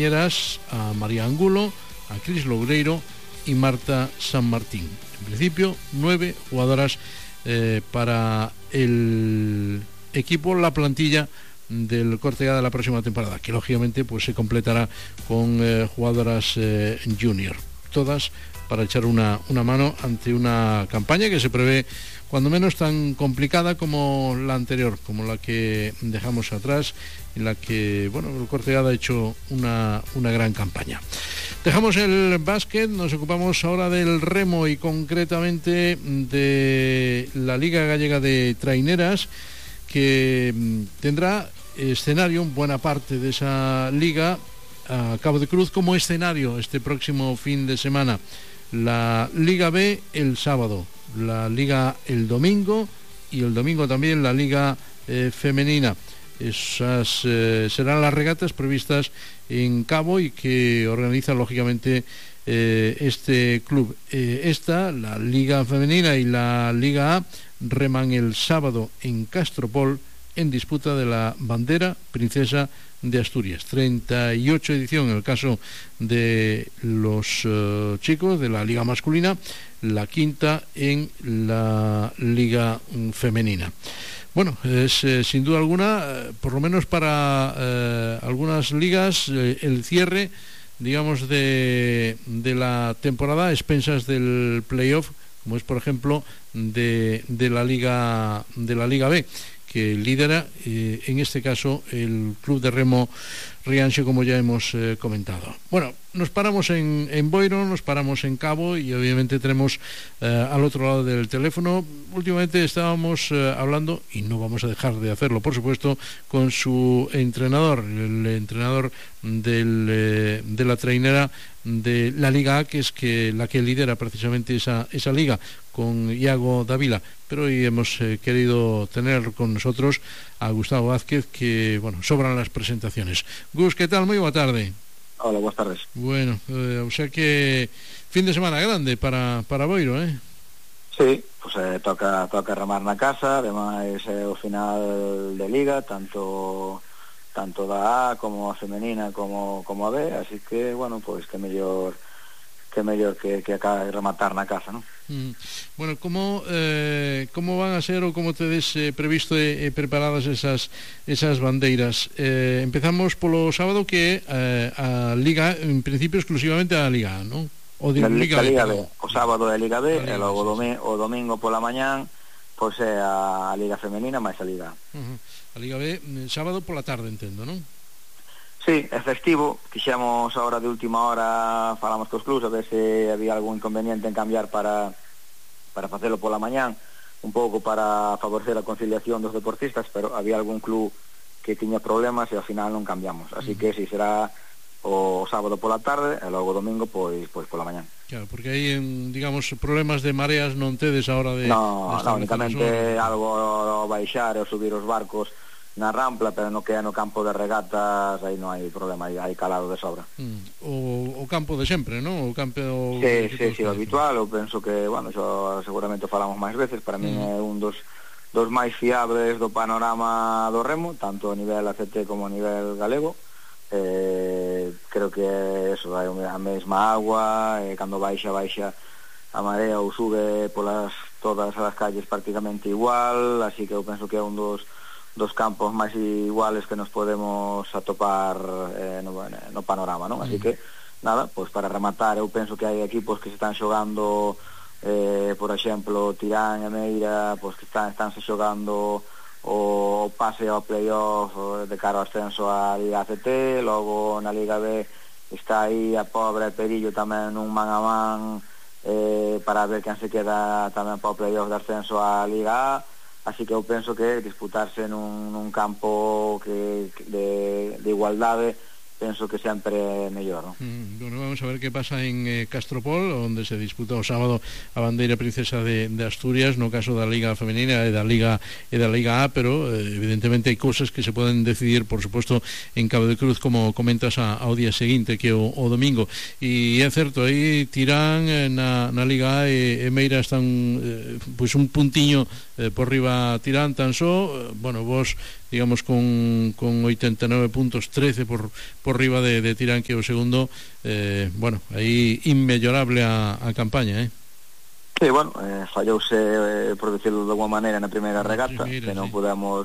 compañeras a María Angulo, a Cris Loureiro y Marta San Martín. En principio 9 jugadoras para el equipo, la plantilla del Cortegada de la próxima temporada, que lógicamente pues se completará con jugadoras junior, todas para echar una mano ante una campaña que se prevé cuando menos tan complicada como la anterior, como la que dejamos atrás, en la que el Cortegada ha hecho una gran campaña. Dejamos el básquet, nos ocupamos ahora del remo y concretamente de la Liga Gallega de Traineras, que tendrá escenario en buena parte de esa liga a Cabo de Cruz como escenario este próximo fin de semana. La Liga B el sábado, la Liga el domingo y el domingo también la Liga femenina. Esas serán las regatas previstas en Cabo y que organiza lógicamente este club. La Liga femenina y la Liga A reman el sábado en Castropol en disputa de la bandera princesa de Asturias. 38 edición en el caso de los chicos de la liga masculina, la quinta en la liga femenina. Es sin duda alguna, por lo menos para algunas ligas, el cierre, digamos, de la temporada a expensas del playoff, como es por ejemplo de la Liga B, que lidera en este caso el Club de Remo Rianxo, como ya hemos comentado. Nos paramos en Boiro, nos paramos en Cabo y obviamente tenemos al otro lado del teléfono. Últimamente estábamos hablando, y no vamos a dejar de hacerlo por supuesto, con su entrenador, el entrenador de la trainera de la Liga A, que es la que lidera precisamente esa liga, con Iago Dávila. Pero hoy hemos querido tener con nosotros a Gustavo Vázquez, que sobran las presentaciones. Gus, ¿qué tal? Muy buena tarde. Hola, buenas tardes. O sea que fin de semana grande para Boiro, ¿eh? Sí, pues toca remar na casa, ademais o final de liga, tanto da A como a femenina como a B, así que, pues que mellor que acabe de rematar na casa, ¿no? ¿Cómo van a ser o cómo tedes previsto preparadas esas bandeiras? Empezamos polo sábado, que a Liga, en principio exclusivamente a Liga A, ¿no? O de Liga B, o sábado é Liga B, e logo o domingo pola mañán pois é a Liga Femenina máis a Liga A. A Liga B, sábado pola tarde, entendo, non? Sí, é festivo, quixemos ahora de última hora, falamos cos clubs a ver se había algún inconveniente en cambiar para facelo pola mañán, un pouco para favorecer a conciliación dos deportistas, pero había algún club que tiña problemas e ao final non cambiamos, así que si será o sábado pola tarde e logo o domingo pois pola mañán. Claro, porque aí, digamos, problemas de mareas non tedes a hora de... No, únicamente algo baixar e subir os barcos na rampla, pero no que é no campo de regatas aí non hai problema, hai calado de sobra. O campo de sempre, non? O campo... Sí, o habitual, eu penso que, xo seguramente falamos máis veces, para min é un dos máis fiables do panorama do remo, tanto a nivel ACT como a nivel galego. Creo que eso, hai a mesma agua, cando baixa a marea ou sube todas as calles prácticamente igual, así que eu penso que é un dos campos máis iguales que nos podemos atopar no panorama, non? Así que, nada, pois para rematar, eu penso que hai equipos que se están xogando, por exemplo, Tirán e Meira, pois que estánse xogando o pase ao playoff de cara ao ascenso á Liga ACT, logo na Liga B está aí a pobre Perillo tamén nun man a man para ver quen se queda tamén para o playoff de ascenso á Liga A. Así que eu penso que disputarse nun campo de igualdade, penso que sempre é mellor, non? Vamos a ver que pasa en Castropol, onde se disputa o sábado a bandeira princesa de Asturias, no caso da Liga Femenina e da Liga A, pero evidentemente hai cousas que se poden decidir, por suposto, en Cabo de Cruz, como comentas, ao día seguinte, que o domingo. E é certo, aí Tirán na Liga A e Meira están pois un puntiño por riba Tirán tan só. Vos digamos con 89 puntos, 13 por riba de Tirán, que o segundo, bueno, aí inmellorable a campaña, Sí, bueno, fallouse, por decirlo de alguma maneira, na primeira regata, que non pudemos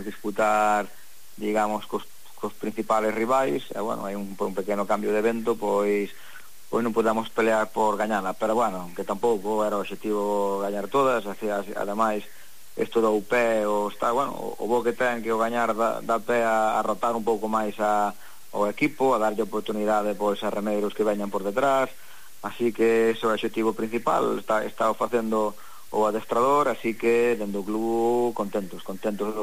disputar, digamos, cos principales rivais, e bueno, hai un pequeno cambio de vento, pois non pudemos pelear por gañala, pero bueno, que tampouco era o objetivo gañar todas, ademais, isto do pé, o bo que ten que o gañar dá pé a rotar un pouco máis ao equipo, a darlle oportunidade pois a remeiros que veñan por detrás. Así que ese é o objetivo principal, está o facendo o adestrador, así que dentro do club contentos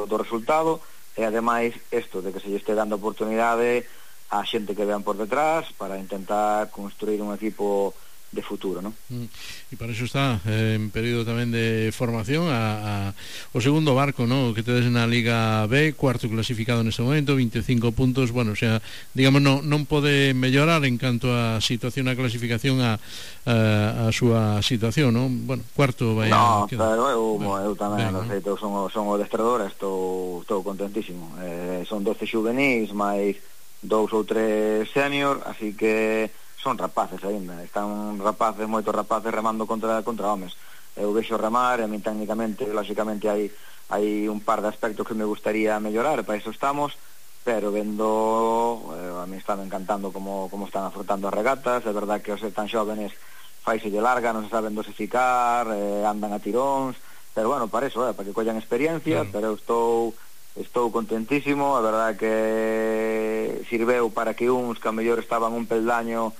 do resultado, e ademais isto de que se lle este dando oportunidade a xente que vean por detrás para intentar construir un equipo de futuro, ¿no? E para iso está en período tamén de formación o segundo Barco, ¿no? Que tedes na Liga B, cuarto clasificado neste momento, 25 puntos, bueno, o sea, digamos, non pode mellorar en canto a situación a clasificación a súa situación, ¿no? Bueno, cuarto vai a quedar. No, pero eu tamén, no sei, son o adestrador, estou contentísimo. Son 12 juvenis, máis 2 ou 3 senior, así que son rapaces aínda, están moitos rapaces remando contra homes. Eu vexo remar, e a min técnicamente, lógicamente hai un par de aspectos que me gustaría mellorar, para iso estamos, pero vendo, a mí está encantando como están afrontando as regatas. É verdad que os ser tan xóvenes faiselle larga, non se saben dosificar, andan a tiróns, pero bueno, para iso, para que collan experiencia, pero estou contentísimo. A verdad que sirveu para que uns que a mellor estaban un peldaño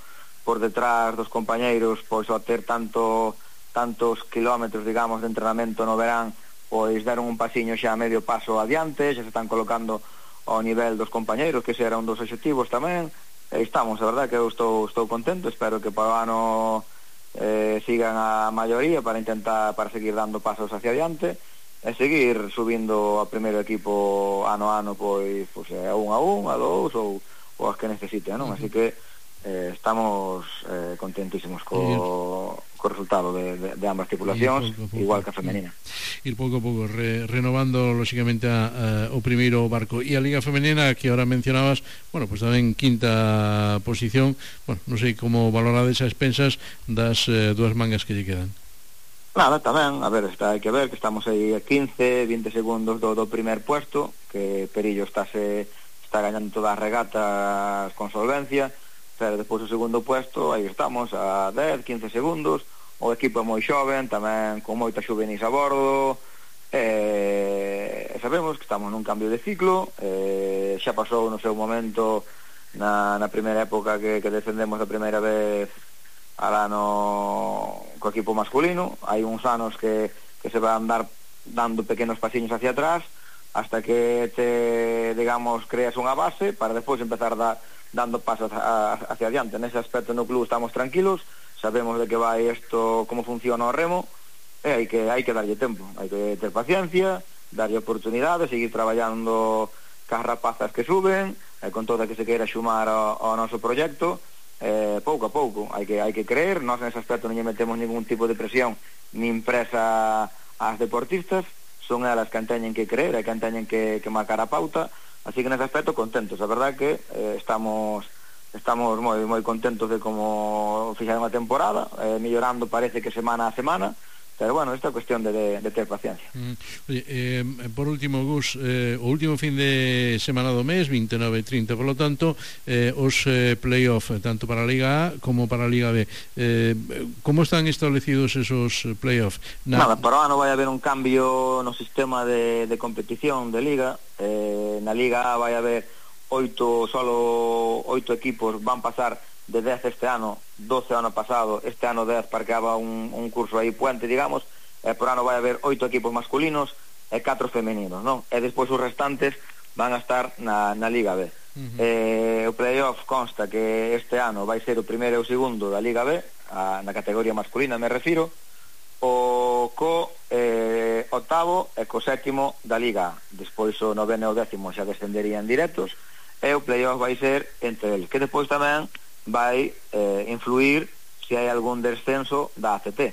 por detrás dos compañeiros, pois ao ter tantos kilómetros, digamos, de entrenamento no verán, pois deron un pasiño xa a medio paso adiante, xa se están colocando ao nivel dos compañeiros, que ese era un dos obxectivos tamén. Estamos, a verdad que eu estou contento, espero que para o ano sigan a maioría para seguir dando pasos hacia adiante e seguir subindo a primeiro equipo ano a ano, pois a 1, a 2 ou as que necesiten, non? Así que estamos contentísimos co resultado de ambas tripulacións, igual que a femenina. Ir pouco a pouco renovando lógicamente o primeiro Barco. E a Liga Femenina, que ahora mencionabas, bueno, pues tamén quinta posición. Bueno, non sei como valorades as expensas das dúas mangas que lle quedan. Nada, tamén, a ver, hai que ver que estamos aí a 15, 20 segundos do primer puesto, que Perillo está gañando todas as regatas con solvencia, pero despois o segundo puesto, aí estamos a 10, 15 segundos. O equipo é moi xoven, tamén con moita xuvenis a bordo, sabemos que estamos nun cambio de ciclo, xa pasou no seu momento na primeira época que descendemos a primeira vez alá co equipo masculino. Hai uns anos que se van dando pequenos pasiños hacia atrás hasta que digamos, creas unha base para despois empezar dando pasos hacia adiante. Nese aspecto no club estamos tranquilos, sabemos de que vai isto, como funciona o remo, e hai que darlle tempo, hai que ter paciencia, darlle oportunidade, seguir traballando cas rapazas que suben, e con toda que se queira xumar ao noso proxecto, pouco a pouco, hai que creer. Nós nese aspecto non lle metemos ningún tipo de presión nin presa ás deportistas, son elas que teñen que creer e que teñen que marcar a pauta. Así que nese aspecto contentos, a verdad que estamos moi contentos de como fixaron a temporada, mellorando parece que semana a semana, pero bueno, esta é cuestión de ter paciencia. Oye, por último, Gus, o último fin de semana do mes, 29 e 30, por lo tanto, os play-off, tanto para a Liga A como para a Liga B, como están establecidos esos play-off? Nada, para o ano vai haber un cambio no sistema de competición de Liga. Na Liga A vai haber 8 equipos, van pasar de 10 este ano, 12 ano pasado, este ano 10 parqueaba un curso aí puente, digamos, por ano vai haber 8 equipos masculinos e 4 femeninos, non? E despois os restantes van a estar na Liga B. O playoff consta que este ano vai ser o primeiro e o segundo da Liga B, na categoría masculina me refiro, o octavo e co sétimo da Liga A. Despois o noveno e o décimo xa descenderían directos, e o playoff vai ser entre eles, que despois tamén vai influir se hai algún descenso da ACT.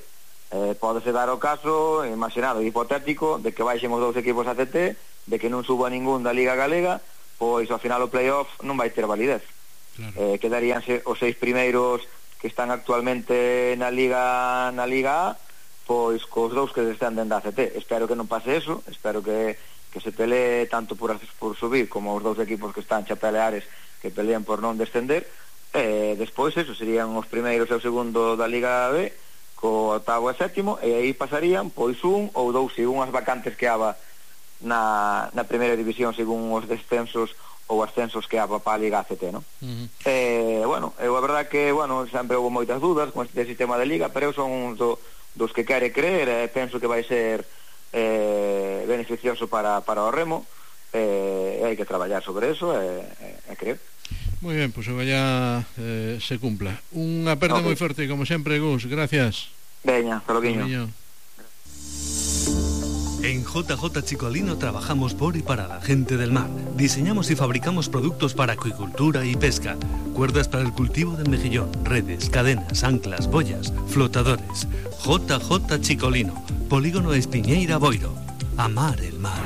Pódese dar o caso, imaginado, hipotético, de que baixemos 2 equipos ACT de que non suba ningún da Liga Galega, pois ao final o playoff non vai ter validez. Claro. Quedaríanse os 6 primeiros que están actualmente na Liga A, pois cos 2 que descenden da ACT. Espero que non pase eso, espero que se pelee tanto por subir como os 2 equipos que están xa peleares que pelean por non descender. Despois eso, serían os primeiros e o segundo da Liga B, co octavo e sétimo, e aí pasarían pois un ou 2 según as vacantes que haba na primeira división, según os descensos ou ascensos que haba para a Liga ACT, non? Bueno, a verdad que, bueno, sempre houve moitas dudas con este sistema de Liga, pero eu son un dos que quere creer, e penso que vai ser beneficioso para o remo, e hai que traballar sobre eso e creer. Moi ben, pois ojalá se cumpla. Unha aperta moi forte, como sempre, Gus, gracias. Veña, hasta loguiño. En JJ Chicolino trabajamos por y para la gente del mar. Diseñamos y fabricamos productos para acuicultura y pesca. Cuerdas para el cultivo del mejillón, redes, cadenas, anclas, boyas, flotadores. JJ Chicolino, Polígono Espiñeira Boiro. Amar el mar.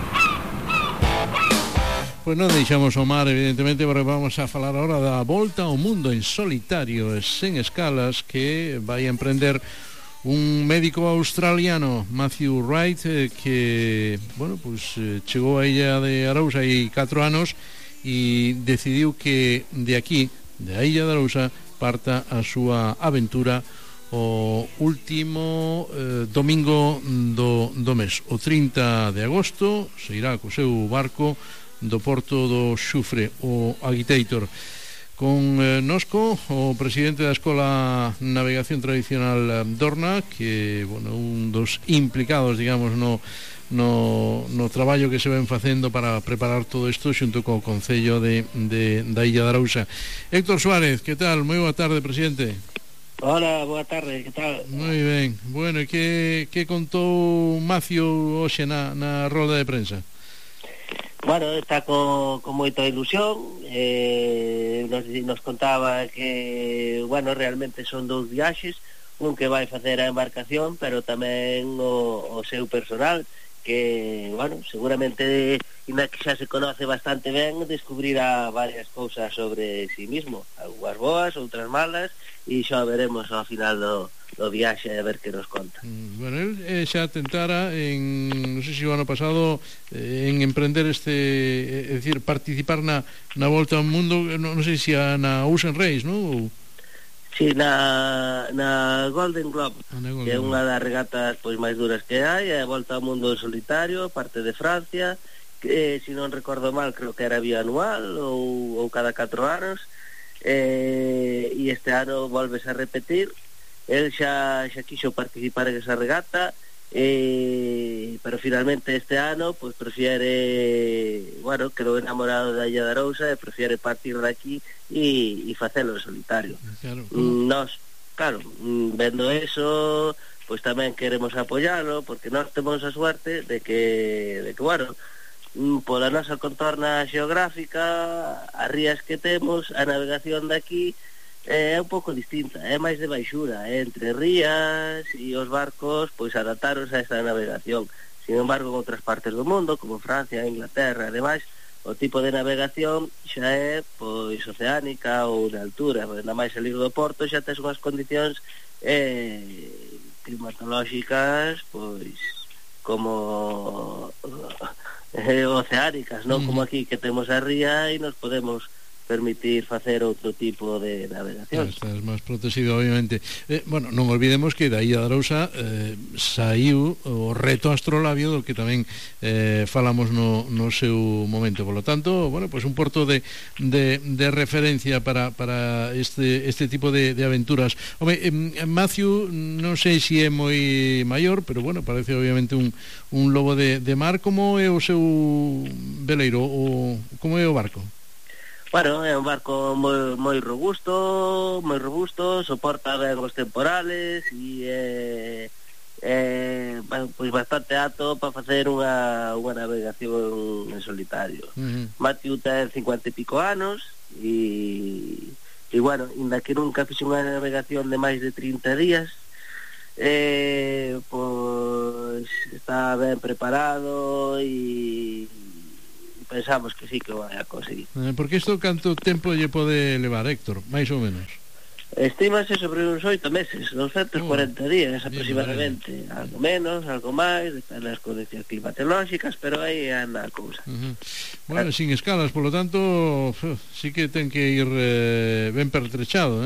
Pues non deixamos o mar, evidentemente, porque vamos a falar ahora da volta ao mundo en solitario e sen escalas que vai a emprender un médico australiano, Matthew Wright, que, bueno, pues chegou a Illa de Arousa hai 4 anos e decidiu que de aquí, de a Illa de Arousa, parta a súa aventura o último domingo do mes. O 30 de agosto se irá co seu barco do porto do Xufre, o Agitator. Con nosco o presidente da Escola Navegación Tradicional Dorna, que, bueno, un dos implicados, digamos, no traballo que se ven facendo para preparar todo isto xunto co Concello da Illa de Arousa. Héctor Suárez, que tal? Moi boa tarde, presidente. Hola, boa tarde, que tal? Moi ben. Bueno, e que contou Macio hoxe na rolda de prensa? Bueno, está con moita ilusión, nos contaba que, bueno, realmente son 2 viaxes, un que vai facer a embarcación, pero tamén o seu personal, que, bueno, seguramente, ainda que xa se conoce bastante ben, descubrirá varias cousas sobre si mismo, algunhas boas, outras malas, e xa veremos ao final do viaxe a ver que nos conta. Bueno, el xa tentara non sei se o ano pasado en emprender é dicir, participar na volta ao mundo, non sei se na Ocean Race, non? Sí, na Golden Globe, que é unha das regatas pois máis duras que hai, a volta ao mundo en solitario, parte de Francia, que, se non recordo mal, creo que era bianual ou cada 4 anos, e este ano volves a repetir. El xa quixo participar en esa regata, pero finalmente este ano pues prefiere, bueno, quedou enamorado da Illa de Arousa e prefiere partir de aquí e facelo en solitario. Claro. Nos, claro, vendo eso, pues tamén queremos apoyalo, porque nós temos a suerte de que bueno, pola nosa contorna xeográfica, as rías que temos, a navegación de aquí é un pouco distinta, é máis de baixura, entre rías e os barcos pois adaptaronse a esta navegación. Sin embargo, en outras partes do mundo, como Francia, Inglaterra e demais, o tipo de navegación xa é pois oceánica ou de altura, nada máis salir do porto xa tes unhas condicións climatolóxicas pois como oceánicas, non como aquí que temos a ría e nos podemos permitir facer outro tipo de navegación. Estás máis protegido, obviamente. Bueno, non olvidemos que da Illa de Arousa saiu o reto astrolabio do que tamén falamos no seu momento. Por lo tanto, bueno, pues un porto de referencia para este tipo de aventuras. Home, Matthew, non sei se é moi maior, pero bueno, parece obviamente un lobo de mar. Como é o seu veleiro, como é o barco? Bueno, é un barco moi robusto, soporta ben os temporales e pois bastante apto para facer unha navegación en solitario. Matthew ten 50 e pico anos e bueno, ainda que nunca fixe unha navegación de máis de 30 días, pois está ben preparado e pensamos que sí que vai a conseguir. Porque isto canto tempo lle pode levar, Héctor, máis ou menos? Estímase sobre uns 8 meses, 240 días aproximadamente, algo menos, algo máis, depende das condicións climatolóxicas, pero aí anda a cousa. Bueno, sin escalas, polo tanto, sí que ten que ir ben pertrechado,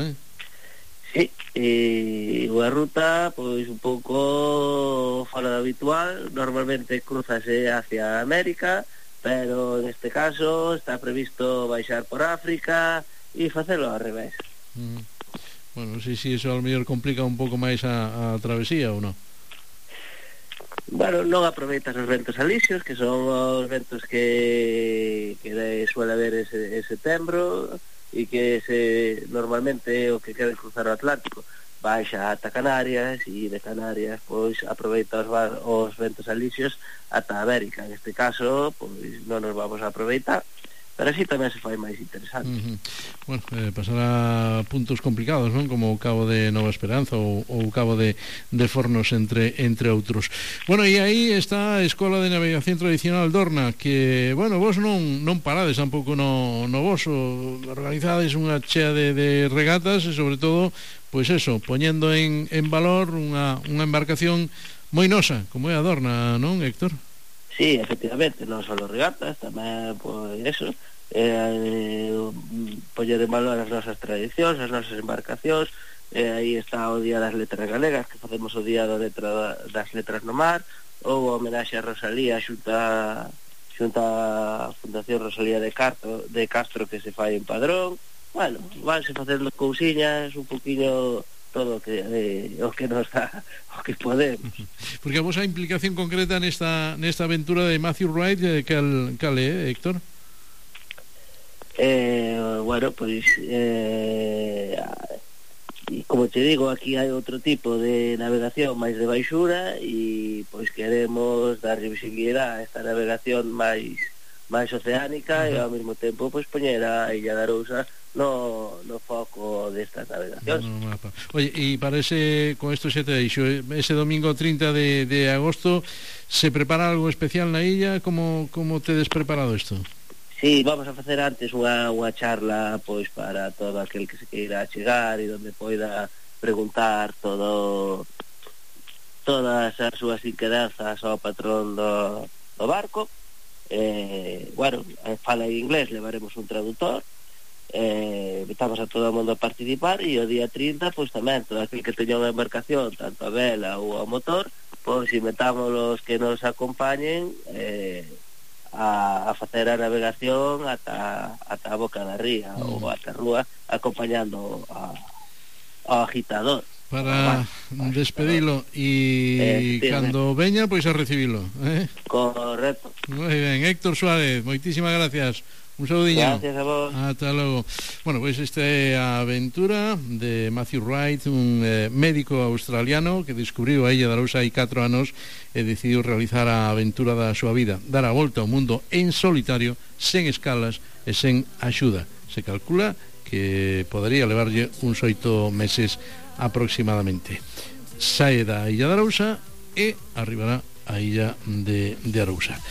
Sí, e unha ruta pois un pouco fora do habitual, normalmente cruzase hacia América, pero en este caso está previsto baixar por África e facelo ao revés. Bueno, non sei se iso ao mellor complica un pouco máis a travesía ou non. Bueno, non aproveitas os ventos alisios, que son os ventos que suele haber en setembro e que normalmente o que queren cruzar o Atlántico baixa ata Canarias e de Canarias pois aproveita os ventos alisios ata América. En este caso pois non nos vamos a aproveitar, pero así tamén se fai máis interesante. Bueno, pasará puntos complicados, non? Como o Cabo de Nova Esperanza ou o Cabo de Fornos, entre outros. Bueno, e aí está a Escola de Navegación Tradicional Dorna, que, bueno, vos non parades tampouco no voso, organizades unha chea de regatas e, sobre todo, pois eso, poñendo en valor unha embarcación moi nosa, como é a Dorna, non, Héctor? Sí, efectivamente, non só regatas, tamén, pois, eso, poñer en valor as nosas tradicións, as nosas embarcacións, aí está o Día das Letras Galegas, que facemos o Día das Letras no Mar, ou a homenaxe a Rosalía xunta a Fundación Rosalía de Castro, que se fai en Padrón. Bueno, vanse facendo cousiñas un poquinho todo o que nos dá, o que podemos. Porque a vosa implicación concreta nesta aventura de Matthew Wright, cal é, Héctor? Bueno, pois como te digo, aquí hai outro tipo de navegación máis de baixura e pois queremos dar visibilidade a esta navegación máis oceánica e ao mesmo tempo pois poñer a Illa de Arousa no foco destas navegacións. Oye, e para con esto xe te deixo, ese domingo 30 de agosto se prepara algo especial na illa? Como tedes preparado isto? Sí, vamos a facer antes unha charla pois para todo aquel que se queira chegar e donde poida preguntar todas as súas inquedanzas ao patrón do barco. Bueno, fala en inglés, levaremos un traductor, invitamos a todo o mundo a participar e o día 30 pois tamén todo aquel que teña unha embarcación, tanto a vela ou ao motor, pois invitamos os que nos acompañen a facer a navegación ata a boca da ría ou ata a rúa, acompañando ao agitador para despedilo e cando veña pois a recibilo, Correcto. Moi ben, Héctor Suárez, moitísimas gracias. Un saludiño. Gracias a vos. Ata logo. Bueno, pois esta é a aventura de Matthew Wright, un médico australiano que descubriu a Illa de Arousa hai 4 anos e decidiu realizar a aventura da súa vida, dar a volta ao mundo en solitario, sen escalas e sen axuda. Se calcula que podería levarlle uns 8 meses aproximadamente. Sae da Illa de Arousa e arribará a Illa de Arousa.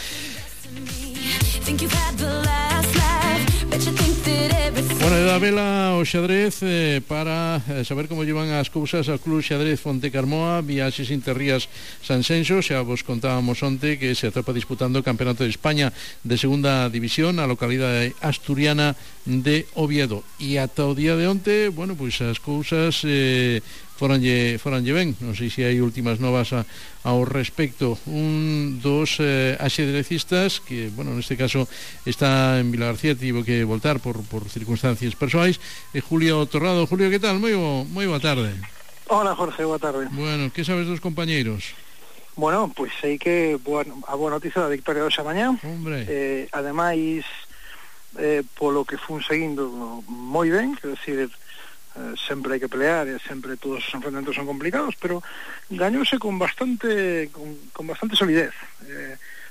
Bueno, da vela o xadrez para saber como llevan as cousas ao Club Xadrez Fonte Carmoa, Viaxes Interrías Sanxenxo. Xa vos contábamos onte que se atrapa disputando o Campeonato de España de Segunda División a localidade asturiana de Oviedo, e ata o día de onte, bueno, pois as cousas foranlle ben. Non sei se hai últimas novas ao respecto. Un dos axedrecistas que, bueno, neste caso está en Vila García, tivo que voltar por circunstancias persoais, é Julio Torrado. Julio, que tal? Moi boa tarde. Hola, Jorge, boa tarde. Bueno, que sabes dos compañeiros? Bueno, pois sei que a boa noticia da victoria hoxe mañá. Hombre. Ademais, polo que fun seguindo moi ben, quero dicir, sempre hai que pelear e sempre todos os enfrentamentos son complicados, pero gañouse con bastante solidez,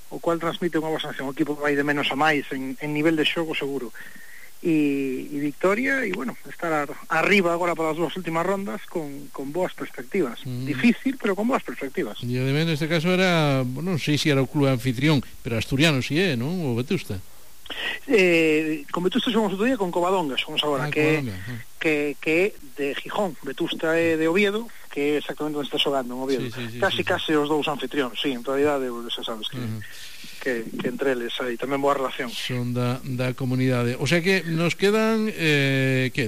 o cual transmite unha boa sensación. O equipo vai de menos a máis en nivel de xogo seguro e victoria, e bueno, estar arriba agora para as dúas últimas rondas con boas perspectivas. Difícil, pero con boas perspectivas. E ademais neste caso era, non sei se era o club anfitrión, pero asturiano si é, non? O Vetusta. Con Vetusta xogamos outro día con Covadonga, xogamos agora, que é de Gijón. Vetusta é de Oviedo, que é exactamente onde está xogando, en Oviedo. Casi os dous anfitrións, sí, en realidade, xa sabes que entre eles hai tamén boa relación. Son da comunidade. O sea que nos quedan,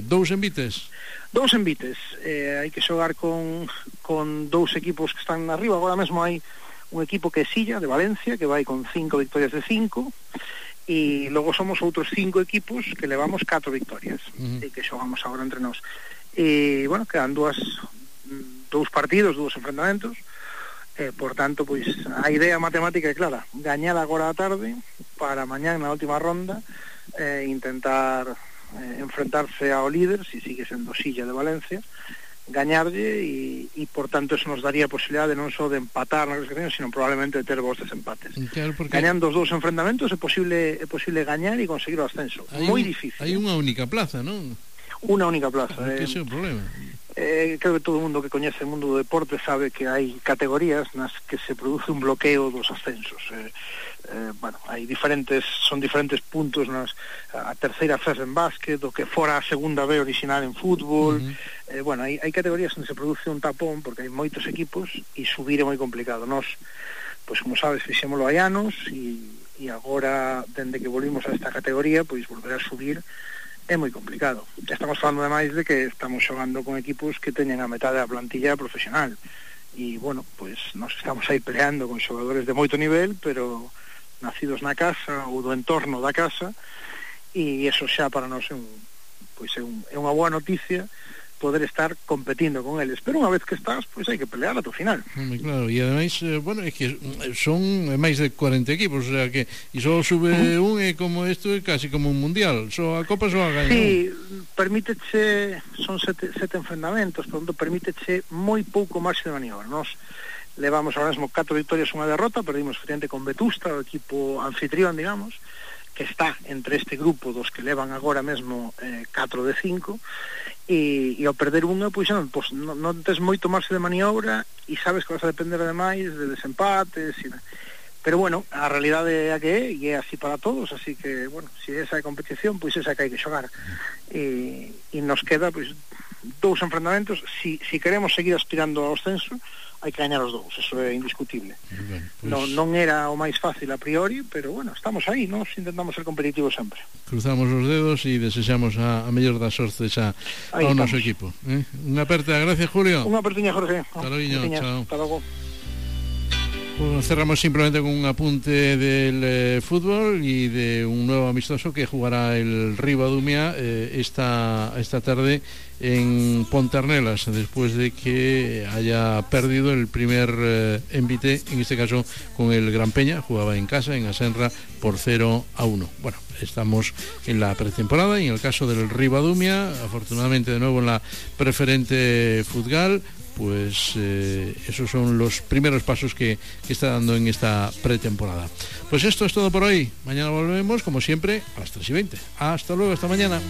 dous envites? Dous envites. Hai que xogar con dous equipos que están arriba. Agora mesmo hai un equipo que é Silla, de Valencia, que vai con 5 victorias de 5, e logo somos outros 5 equipos que levamos 4 victorias e que xogamos agora entre nós. E, bueno, quedan dous partidos, dous enfrentamentos, por tanto, pois, a idea matemática é clara: gañar agora a tarde para mañán na última ronda intentar enfrentarse ao líder, si sigue sendo Silla de Valencia, gañarlle e por tanto eso nos daría a posibilidade non só de empatar na clasificación, sino probablemente de ter vos desempates. Claro, porque gañando os dous enfrentamentos é posible gañar e conseguir o ascenso. Moi difícil. Hai unha única plaza, non? Unha única plaza. Ese é o problema. Creo que todo o mundo que coñece o mundo do deporte sabe que hai categorías nas que se produce un bloqueo dos ascensos. Bueno, son diferentes puntos a terceira fase en básquet, o que fora a segunda B original en fútbol. Bueno, hai categorías onde se produce un tapón porque hai moitos equipos e subir é moi complicado. Nós, pois como sabes, fixémolo hai anos e agora, dende que volvimos a esta categoría, pois volver a subir é moi complicado. Estamos falando ademais de que estamos xogando con equipos que teñen a metade da plantilla profesional e, bueno, pois nos estamos aí peleando con xogadores de moito nivel, pero nacidos na casa ou do entorno da casa, e eso xa para nós é unha boa noticia poder estar competindo con eles, pero unha vez que estás, pois hai que pelear ata o final. Claro, e ademais, bueno, é que son máis de 40 equipos, o sea que e só sube un, e como isto é casi como un mundial, só a Copa só a gaña. Sí, permíteche, son sete enfrentamentos, por tanto, permíteche moi pouco marxe de maniobra. Nos levamos ahora mesmo 4 victorias e unha derrota, perdimos frente con Vetusta, o equipo anfitrión, digamos, que está entre este grupo dos que levan agora mesmo 4 de 5, e ao perder unha, pois non tes moito marxe de maniobra e sabes que vas a depender ademais de desempates pero bueno, a realidade é a que é e é así para todos, así que bueno, se esa é a competición, pois esa que hai que xogar e nos queda pois dous enfrentamentos. Si queremos seguir aspirando ao ascenso, hai que gañar os dous, eso é indiscutible. Pues non era o máis fácil a priori, pero bueno, estamos aí, nos intentamos ser competitivos sempre. Cruzamos os dedos e desexamos a mellor das sortes ao noso equipo. Unha aperta, gracias Julio. Unha apertiña, Jorge. Hasta logo, chao. Hasta logo. Pues cerramos simplemente con un apunte del fútbol y de un nuevo amistoso que jugará el Ribadumia esta tarde en Pontarnelas, después de que haya perdido el primer envite, en este caso con el Gran Peña. Jugaba en casa, en Asenra, por 0-1. Bueno, estamos en la pretemporada y en el caso del Ribadumia, afortunadamente de nuevo en la preferente Futgal, pues esos son los primeros pasos que está dando en esta pretemporada. Pues esto es todo por hoy. Mañana volvemos, como siempre, a las 3:20. Hasta luego, hasta mañana.